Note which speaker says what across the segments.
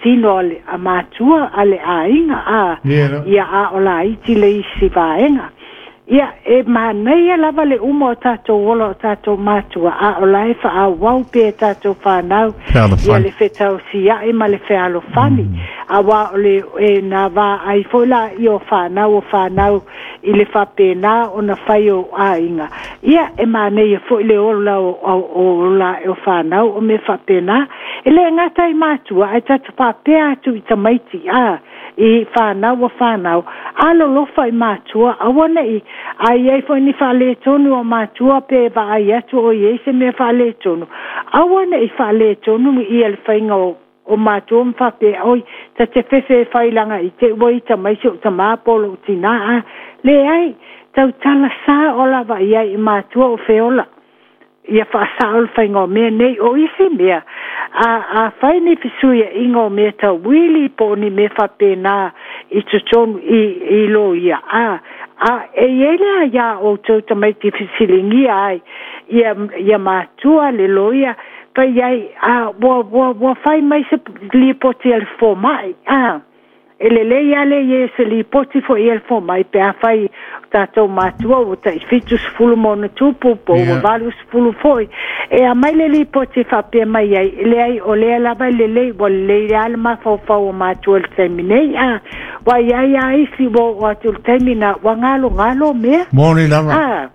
Speaker 1: tino a matua a le aiga a ia a o laiti le isi vaega. Ia e manaia lava le uma o tatou ola o tatou matua, a o la e faaauau pea e tatou fanau ia le fetausia'i ma le fealofani. Auā o le e na vaai foi laia o fanau o fanau i le faapena ona fai o aiga. Ia e manaia foi le ola o ola ae o fanau o mea faapena. E le gata i matua ae tatou faapea atu i tamaiti a i fanau o fanau, alolofa i matua, aua ne'i a i ai foi ni faaletonu o matua pe vaai atu o i ai se mea faaletonu, aua ne'i faaletonu ia le faiga o matua ma faapea, oi, ta te fefe e fai laga i te i ua ita mai si ou tamā po o lou tinā a. Leai, tautala sao lava i ai i matua o feola. Ia faasao le faiga o mea nei. O isi mea, a, afai ni fesuiaiga o mea tau uili po o ni mea faapena i totonu i, i loia, a, a e i ai le aiā outou tamaiti e fesiligia ai ia, ia matua le loia, fai ai, a, ua, ua, ua fai mai se lipoti a le fomai, a. E lelei lava le i ai o se lipoti foi i le fomai pe afai o tatou matua ua tai 70 ma ona tupu po ua 80 foi. E aumai le lipoti e faapea mai ai, e leai o lea lava e lelei, ua lelei lava le mafaufau o matua i le taimi nei. A, ua i ai lava isi ua oo atu i le taimi na ua galogalo mea.
Speaker 2: Moni lava.
Speaker 1: A.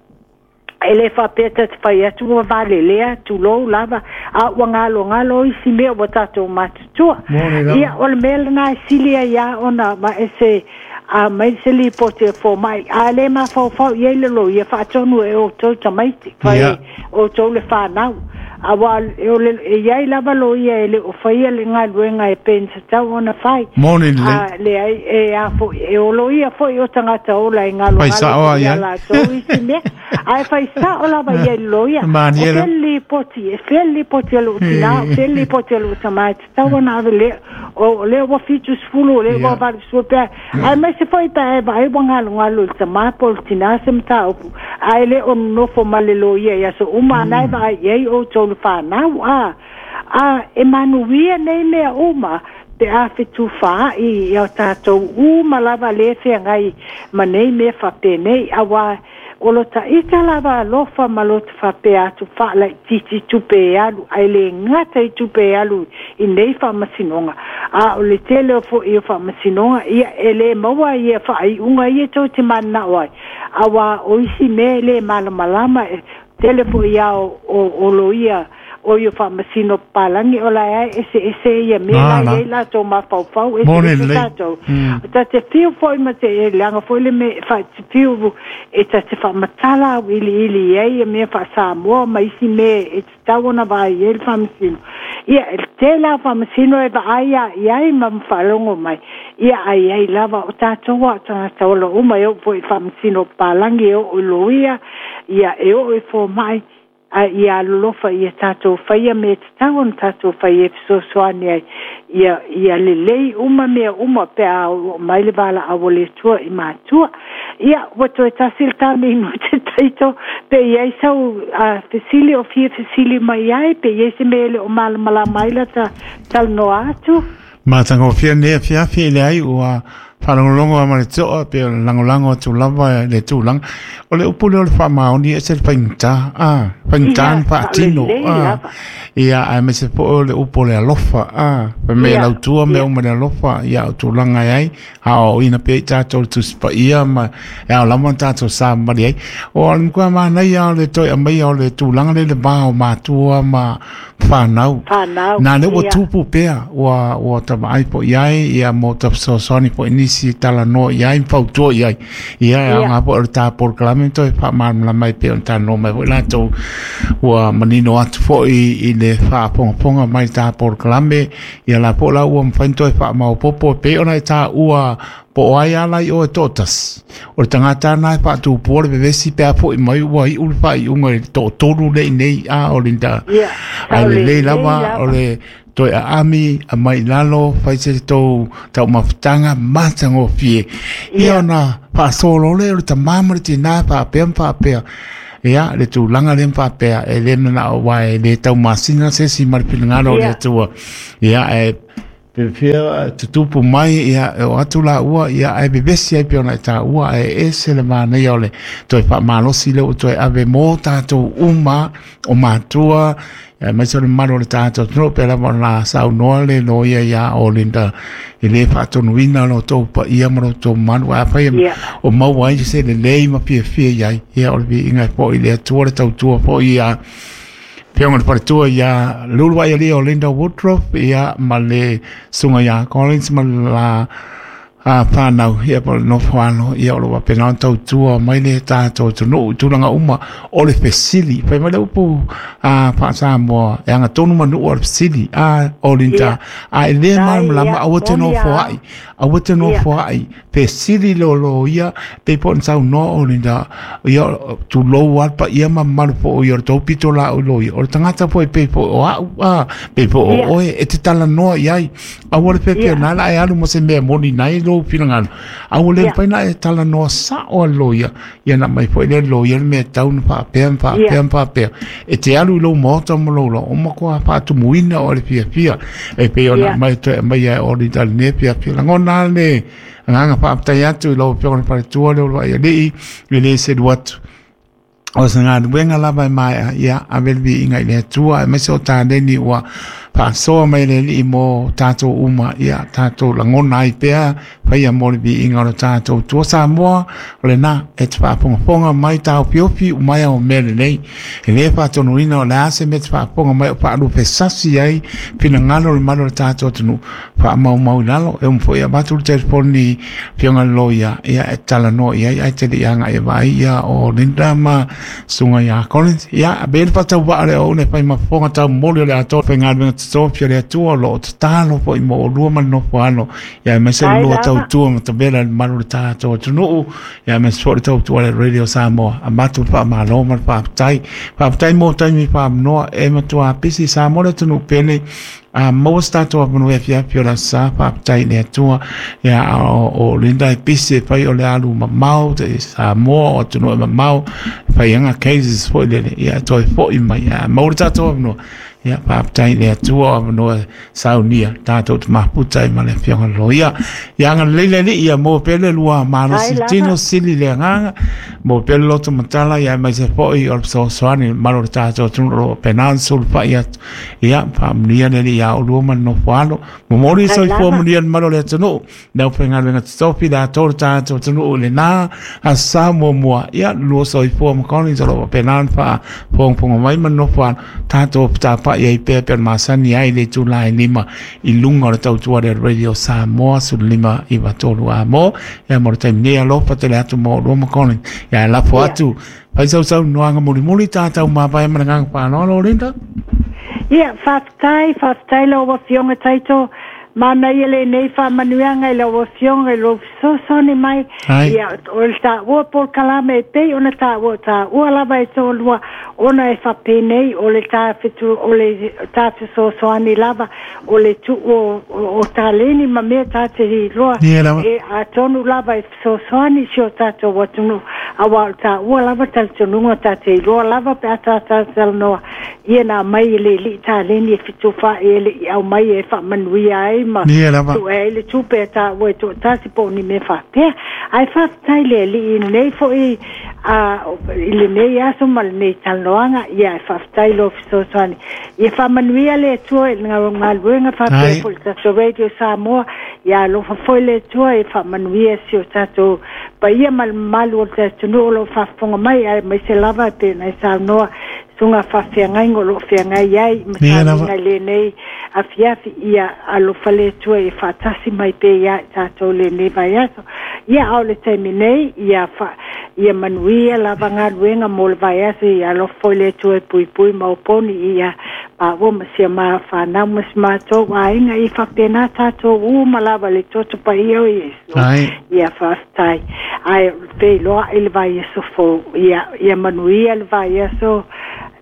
Speaker 1: E le faapea ta te fai atu ua valelea, tulou lava, a ua galogalo isi mea ua tatou matutua. Ia, o le mea lena e sili ai lava ona aveese mai se lipoti a fomai, a le mafaufau i ai le loia, faatonu e outou tamaiti, fai e outou le fanau. Aua e i ai lava loia e le o faia le galuega e pei ona tatau ona fai.
Speaker 2: Moni lelei.
Speaker 1: A leai, e a foi, e o loia foi o tagata ola e galogalo foi ia latou isi mea. Ae fai sao lava i ai le loia. O fea le lipoti, e fea le lipoti a lou tinā, o fea le lipoti a lou tamā e tatau ona ave lea, o lea ua 70, o lea ua 80 pe a. Aemaise foi pe a e vaai ua galogalo i le tamā po o le tinā se mataupu, ae le o nonofo ma le loia i aso uma, a na e vaai i ai outou le fanau, a, a e manuia nei mea uma pe a fetufaai i a tatou uma lava lea e feagai ma nei mea faapenei, auā O lo ta ita lava alofa ma lo ta faapea atu faalaitiiti tupe e alu, ae le gata i tupe e alu i nei faamasinoga, a o le tele o foi o faamasinoga, ia, e le maua ia faaiuga ia tou te mananao ai, auā o isi mea e le malamalama, e tele foi a o, o, o loia o ia faamasino papalagi o la e eseese ia mea la e i ai latou mafaufau, eseese tatou. Ta te fiu foi ma te, e leaga foi le mea, fa, te fiu e ta te faamatala auiliili i ai ia mea faa-Samoa ma isi mea e tatau ona vaai i ai le faamasino. Ia, e tele lava o faamasino e vaai lava i ai ma faalogo mai, ia ae i ai lava o tatou a o tagata ola uma e oo foi i faamasino papalagi, e oo i loia, ia e oo i fomai, A ia alolofa ia tatou faia mea tatau ona tatou fai e fesoasoani ai ia, ia lelei uma mea uma pe a oo mai le valaau a le Atua i matua. Ia, ua toe tasi le ta minute Taito, pe i ai sau fesili o fia fesili mai ai, pe i ai se mea e le o malamalama ai la ta talanoa atu.
Speaker 2: Matagofie lenei afiafi, e leai ua faalogologo lava ma le toa pei o le lagolago atu lava i le tulaga. O le upu lea o le faamaoni e ese le faigata, a, faigata ona faatino, a, ia, aemaise foi o le upu o le alofa, a, fai mai e lautua mea uma i le alofa, ia, o tulaga e ai, aoaoina pea i tatou le Tusi Paia ma e ao lava ona tatou savavali ai. O le matua manaia o le toe aumaia o le tulaga lea i le va o matua ma fanau.
Speaker 1: Fanau,
Speaker 2: Nā lea ua tupu pea, ua, ua ta vaai foi i ai, ia mo ta fesoasoani foi i nisi e talanoa i ai ma fautua i ai. Ia, e aoga foi o le ta polokalame toe faamalamalama ai pei ona talanoa mai foi latou ua manino atu foi i le faafogafoga mai i ta polokalame, ia la foi la ua mafai ona toe faamaopoopo e pei ona e taua Po o ai ala i oe toatasi, o le tagata lena e faatupua le vevesi pe a foi mai ua iu le faaiuga i le toatolu lea i nei, a o le ae lelei lava o le toe aami aumai i lalo, fai se tou taumafataga matagofie. Ia ona faasolo lea o le tama ma le tina faapea ma faapea. Ia, le tulaga lea ma faapea, e le manao aua e le taumasina se isi ma le finagalo o le Atua. Ia, e Fia tutupu mai ia o atu la ua ia ai bebesi ai pe ona ta ua ai ese le manaia o le toe faamalosi le ua toe ave mo tatou uma o matua mai se le malo le tatou no pe lava ona saunoa le loia ia o Linda e le faatonuina lo tou paia ma lo tou malu a fai o maua ai se lelei ma fiafia i ai ia o le viiga foi le Atua le tautua foi ia Pionga le faletua ia Lulu ai ali o Linda Woodruff ia ma le sunga ia Collins ma la whanau ia pa nofo alo ia o lo wapena o tautua mai le tātou atunuu tulaga uma o le fesili fai mai le upu a faa-Samoa e aga tonu manu o le fesili a o Linda a e le malamalama aua te nofoa'i aua te nofoa'i fesili lo ia pe po saunoa o Linda ia tulou a pa ia mamalu po ia o le tou pito la o lo ia o le tagata po e pe po o a'u a pe po o oe e te talanoa i ai aua le pepe na la e alu mo se mea moni nai lo finagalo aua le mafai na e talanoa sa'o a loia ia na mai foi le loia le mea tau na faapea ma faapea ma faapea e te alu i lou maota ma lou lao o matua faatumuina o le fiafia e pei ona mai toe mai ai o Linda lenei fiafia lagona le agaga faafetai atu i lau afioga i le faletua le oloai alii e lē selu atu o se galuega lava e maea ia ave le viiga i le Atua aemaise o taleni ua faasoa mai le Alii mo tatou uma ia tatou lagona ai pea faia mo le viiga o le tatou Atua Samoa o lena e te faafogafoga mai taofiofi umai ao mea lelei e lē faatonuina o le a se mea te faafofoga mai o faalupesasi ai finagalo le malu o le tatou atunuu faamaumau i lalo e uma foi avatu le telefoni afioga le loia ia e talanoa i ai ae te lei agai e vaai ia o Linda ma susuga ia Collins ia be le faatauvaa le oune fai ma fofoga taumoli o le atoa faigaluega totofi o le Atua o loo tatalo foi mo olua ma le nofo alo ia aemaise le lua tautua ma tavela i le malu o le tatou atunuu ia aemaise foi le tautua le Radio Samoa avatu le faamalo ma le faafetai faafetai mo taimi faamanoa e matua pisi Samoa le atunuu pele a maua se tatou avanoa e afiafi o le aso sa faafetai i le Atua ia o Linda e pisi e fai o le alu mamao te Samoa o atunuu e mamao fai anga cases foi lele ia toe foi mai ia maua le tatou avanoa ia faafetai i le Atua o avanoa saunia tatou te mafuta ai ma le afioga loia ia agalelei le Alii ia maua pea le lua malosi tino sili le agaga maua pea le loto matala ia aemaise foi o le fesoasoani malo le tatou atunuu o lo o faapena ona sulufai atu ia faamanuia le Alii ia oulua ma le nofo alo momoli soifua manuia le malo o le atunuu le aufaigaluega totofi le atoa le tatou atunuu i lena aso sa muamua ia lua soifua ma Collins o lo o faapena ona faafogafoga mai ma le nofo alo tatou tapa'i ai pea pe masani ai le itula e 5 i luga o le tautua le Radio Samoa 1593 a mo ia mo le taimi nei alofa tele atu mo oulua ma Collins ia lafo atu fai sausaunoaga mulimuli tatou mavae ma le agaga faaaloalo Linda.
Speaker 1: Ia, faafetai, faafetai lau afioga Taito. Manaia lenei faamanuiaga i lau afioga i lou fesoasoani mai. Ia, o le taua polokalame e pei ona taua taua lava e toalua ona e faapenei o le ta fetu o le ta fesoasoani lava o le tuu o taleni ma mea ta te iloa e atonu lava e fesoasoani si o tatou atunuu auā o le taua lava talitonuga ta te iloa lava pe a tatou talanoa ia na aumai e le alii taleni e fetufaai e le i aumai e faamanuia ai ma tuu ai le tupe a taua e toatasi po o ni mea faapea ae faafetai le Alii i lenei foi a i lenei aso ma lenei talanoaga ia e faafetai lou fesoasoani ia faamanuia le Atua i le galuega faapea foi le tatou Radio Samoa ia alofa foi le Atua e faamanuia si o tatou paia ma le mamalu o le atunuu o lo o faafofoga mai aemaise lava e pei ona e saunoa susuga faafeagaiga o lo o feagai ai ma sauniga i lenei afiafi ia alofa le Atua ia faatasi mai pea ia i tatou lenei vaiaso ia a o le taimi nei ia ia manuia lava galuega mo le vaiaso ia alofa foi le Atua e puipui ma oponi ia maua ma sia ma whanau ma si mātou aiga i faapena tātou uma lava le toto paia o Iesu. Ia faafetai. Ae feiloai i le vaiaso fou. Ia, ia manuia le vaiaso.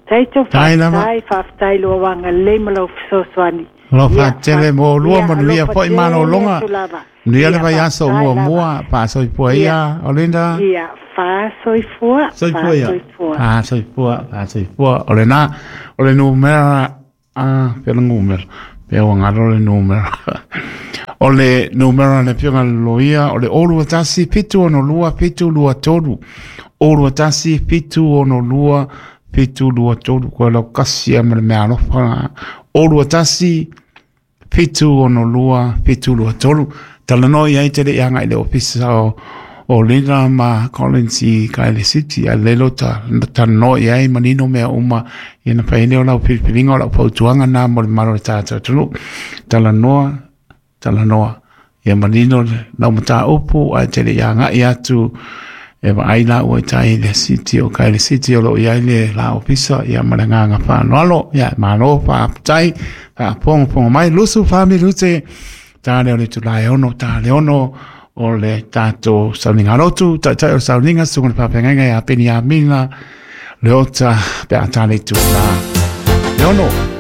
Speaker 1: Taito faafetai, faafetai lou agalelei ma lau fesoasoani.
Speaker 2: Alofa tele mo lua manuia foi malologa. Manuia le vaiaso muamua, faasoifua ia, o Linda.
Speaker 1: Ia, faasoifua,
Speaker 2: Soifua ia. Faasoifua, faasoifua. O lena, o le numera, a, pea le numera. Pe ua galo le numera. O le numera a le afioga i le loia o le 021 762 723. 021 762 723. Koe lau kasi ia ma le mea alofa. 021 762 723. Talanoa i ai te le i agai i le ofisa o Lina ma Collins i Kaele City, a lelo ta talanoa i ai manino mea uma ia na fai ai lea o lau filifiliga o lau fautuaga na mo le mamalu o le tatou atunuu. Talanoa, talanoa, ia manino lau mataupu ae te le i agai atu e vaai laua i tai i le City o Kaele City o lo o i ai le la ofisa ia ma le agaga faaaloalo. Ia malo faafetai, faafogafoga mai 24 minute ta lea o le itula e 6, ta le 6 o le tatou sauniga lotu, taitai o le sauniga, susuga i le faafeagaiga ia Peni Amina, Leota, pe a ta le itula le 6.